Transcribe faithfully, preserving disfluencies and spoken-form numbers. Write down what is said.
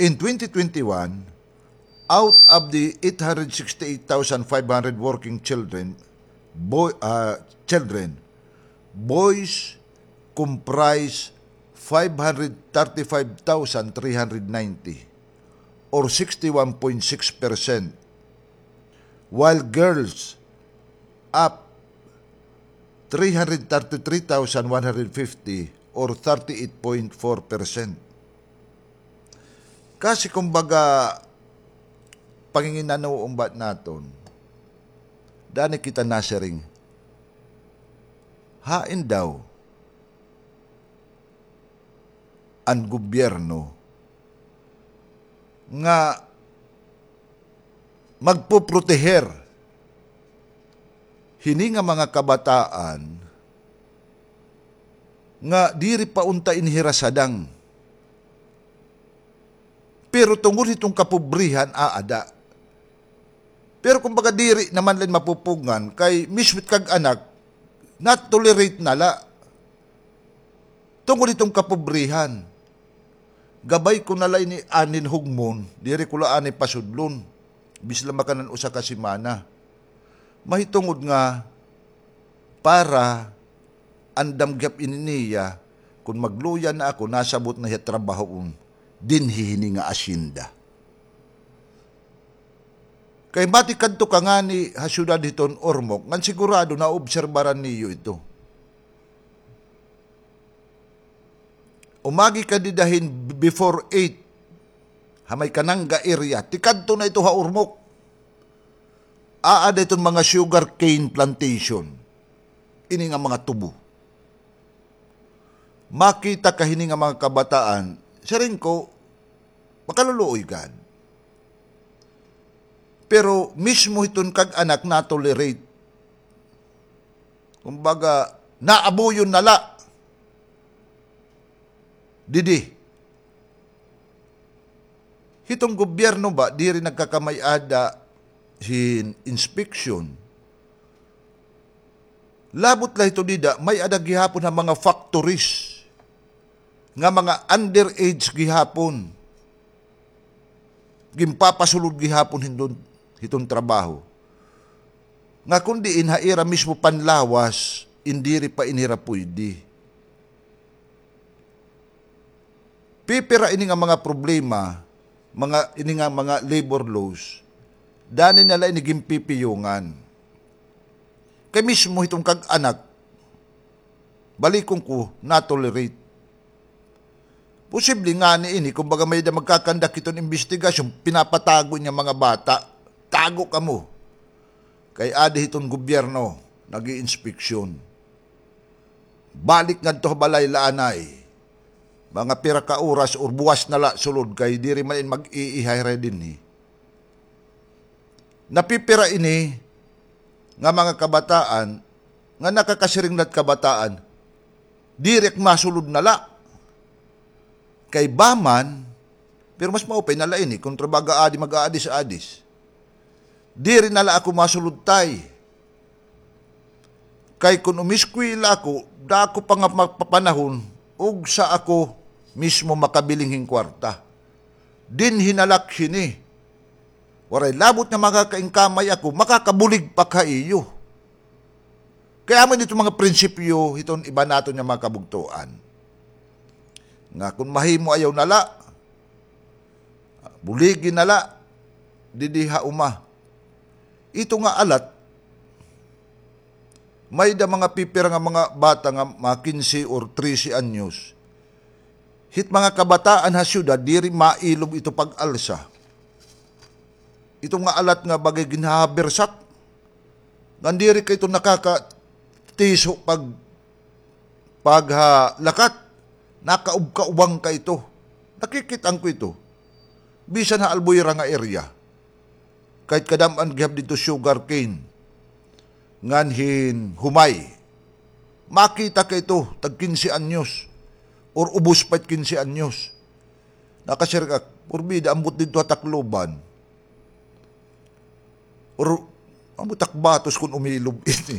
In twenty twenty-one, out of the eight hundred sixty-eight thousand five hundred working children, boy, ah, children, boys comprise five hundred thirty-five thousand three hundred ninety, or sixty-one point six percent, while girls up three hundred thirty-three thousand one hundred fifty, or thirty-eight point four percent. Kasi kumbaga, panginginanoon ba naton, dani kita nasiring, hain daw an gobyerno nga magpoproteher hini nga mga kabataan nga diri pa unta inhira sadang. Pero tungod hiton kapobrihan, aada. Pero kumbaga, diri naman la ini mapupugngan kay mismo it kag-anak, na-tolerate na la. Tungod hiton kapobrihan. Gabay ko na la ini anin hugmon, diri ko la ani pasudlon. Bisan la makanan usa ka semana. Mahitungod nga para andam gihap ini niya, kon magluya na ako, nasabot na hiya trabahoon dinhi hini nga asyenda. Kay matikadto ka ngani ha syudad hiton Ormoc, ngan sigurado naobserbaran niyo ito. Umagi ka dida hin before eight, ha may Kananga area, tikadto na ito ha Ormoc. Aada iton mga sugar cane plantation. Ini nga mga tubo. Makita ka hini nga mga kabataan, siring ko, makaluluoy gad. Pero mismo hiton kag-anak na-tolerate. Kumbaga, naabuyon na la. Didi. Hiton gobyerno ba, diri nagkakamay-ada hin inspection. Labot la hito dida, may-ada gihapon ha mga factories nga mga underage gihapon. Ginpapasulod gihapon hindon, hiton trabaho. Nga kon diin ha ira mismo panlawas, in diri pa ini hira puydi. Pipira ini nga mga problema, mga, ini nga mga labor laws, dani na la ini ginpipiyungan. Kay mismo hiton kag-anak, balikon ko, na-tolerate. Posible ngani ini, kumbaga may-ada magkakandak hiton imbestigasyon, pinapatago niya mga bata. Tago kamo. Kay adi hiton gobyerno, nag-iinspeksyon. Balik ngadto ha balay la anay. Mga pira ka oras or buwas na la sulod kay diri man in mag-iihay ra dinhi. Napipira ini nga mga kabataan, nga nakakasiring la it kabataan, diri ak masulod na la. Kay ba man, pero mas maupay na la ini, kontra baga adi mag-aadis-adis. Diri na la ako masulod, tay. Kay kon umiskwela ako, dako pa nga mapapanahon, ugsa ako mismo makabiling hin kwarta. Dinhi na la ak hini. Waray labot nga makakaingkamay ako, makakabulig pa ak ha iyo. Kay amo ini iton mga prinsipyo hiton iba naton nga mga kabugtoan. Nga kon mahimo ayaw na la, buligi na la, didi ha uma. Ito nga alat, may-ada mga pipira nga mga bata nga mga kinse or trese anyos. Hit mga kabataan ha syudad, diri mailob ito pag-alsa. Ito nga alat nga bagay ginhahabersak. Ngan diri ka ito nakakatiso pag, pag, ha, lakat. Nakaubkaubang ka ito. Nakikit-an ko ito. Bisan ha Albuera nga area. Kahit kadam-an gihap didto sugarcane. Ngan hin humay. Makita ka ito, tag kinse anyos. Or ubos pa it kinse anyos. Nakasiring ak, porbida, ambot didto ha Tacloban. Or, ambot ak batos kon umilob ini.